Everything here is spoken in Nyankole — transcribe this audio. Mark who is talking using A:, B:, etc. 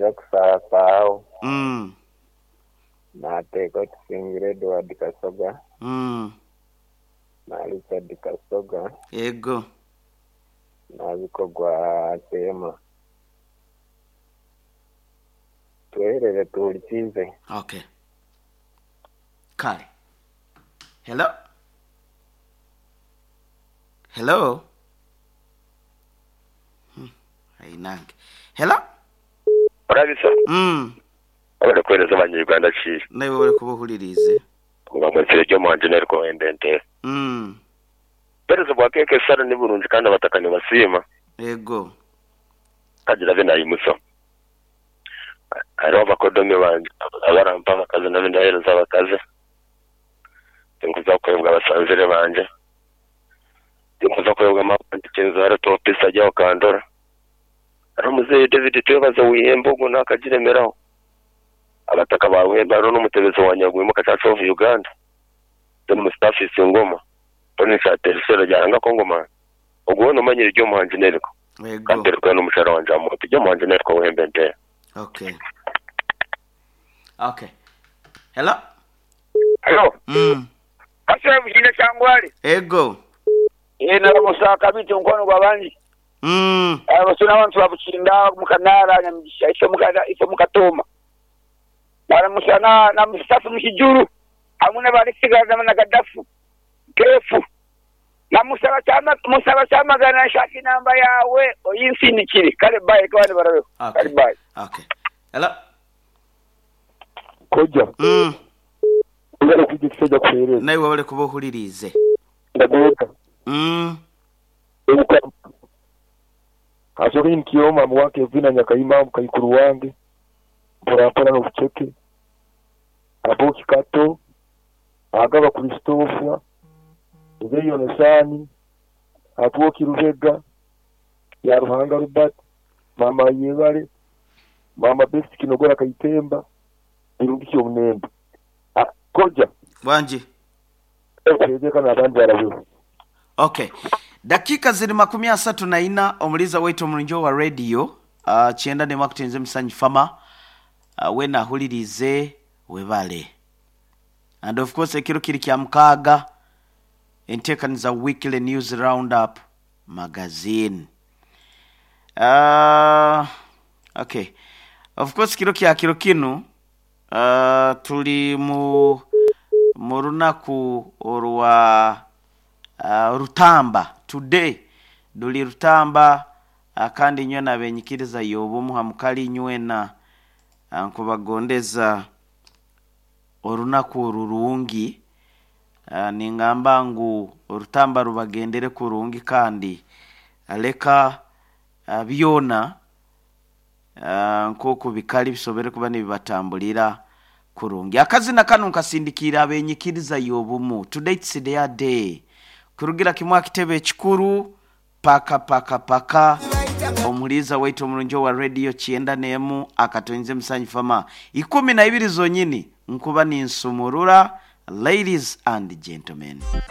A: Tija kusaasaagho.
B: Mm.
A: Naateeka Tusingire Edward Kasoga.
B: Mm.
A: Na Richard Kasoga.
B: Ego.
A: Na Bikogwa Seema. Tweherere tuhulikiize.
B: Okay. Kale. Hello? Hello? Hmm, Ainange. Hello?
C: Olabisa?
B: Mm.
C: Webale kuwereza banya Uganda ki?
B: Naiwe webale kuba ohuliriize.
C: Nga mwetsire Jomo Anjineri Kowembe Nte. Obuheereza bwa keeka esara ni burungi kandi abataka nibasiima.
B: Ego.
C: Kagira abe naimutsya. Hariho abakodomi bangye abarampa abakazi nabo ndaheereza abakazi. Tinkuza kwebwa abasanzire bangye. Tinkuza kwebwa maama wangye Kinzaaro Topisi ari aho Kandora. Hariho muzeeyi David Twebaze Wihembe ogwo naakagiremeraho. Abataka ba Buhembe hariho n'omutebezi wa Nyagwimuka Church of Uganda, John Mustafa Isingoma, Tony Kyatera Isherera rya Ruhanga Kongomani. Ogwo weena omanyire Ryomuhangi Neriko.
B: Ego.
C: Kandi Eriko n'omukyara wangye Amooti. Ryomuhangi Neriko Buhembe Nteera.
B: Okay. Okay. Hello?
D: Halo.
B: Mm.
D: Kasule Buhinda Kyangwali.
B: Ego.
D: Eeh naramusa Kabiti omukwano gwa bangi.
B: Mm.
D: Naramusa n'abantu ba Bukinda omu Kanaara Nyamigisha ife ife omu Katooma. Naramusa na na Mustafa omu Kijuru hamwe na ba Alexi na Gadafu Keefu. Na Musaba Kyama Musaba Kyamagana nshaka enamba yaawe oyinsindikire. Kale bye reka abandi barabeho. Kale
B: Okay.
D: bye.
B: Okay. Hello?
E: Koja, webale kwija ekisajja kuhereza.
B: Naiwe webale kuba ohuliriize.
E: Ndagooka. Obukama. Kansooke nyimukyeho maama wa Kevina Nyakaima mukaikuru wange mporampora n'obuceke, Aboki Kato, Agaba Christopher, Muzeeyi Yonasaani, Atwoki Lubega, Byaruhanga Robert, Maama Ayebare, Maama Best Kinogora Kaitemba, Birungi ki Omunembe. Koja.
B: Wangi.
E: Teebereka n'abandi barabeho.
B: Ok. Dakiika ziri makumi asatu na ina omuliiza waitu omurungi owa radio uh, kyenda n'emwe akutinze Musanyu Farmer uh, weena ahuririize webale. And of course ekiro kiri kya mukaaga enteekaniza Weekly News Roundup Magazine. Uh, okay. Of course kiro kya kiro kinu uh, turi mu mu runaku orwa uh, Rutamba today duri Rutamba uh, kandi nywena abenyikiriza y'obumu hamukali nywena uh, nkubagondeza orunaku orurungi uh, ningamba ngu orutamba rubagendere kurungi kandi leka uh, byona uh, nk'oku bikali bisobere kuba nibibatambulira kurungi. Akazina kanu nkasindikiire abenyikiriza y'obumu. Today it's their day. Kurugira kimwe aha kitebe ekikuru paka paka paka omuhuriiza waitu omurungi owa radio kyenda n'emu akatoinze Musanyu Fama ikumi na ibiri zonyini nkuba ninsumurura ladies and gentlemen.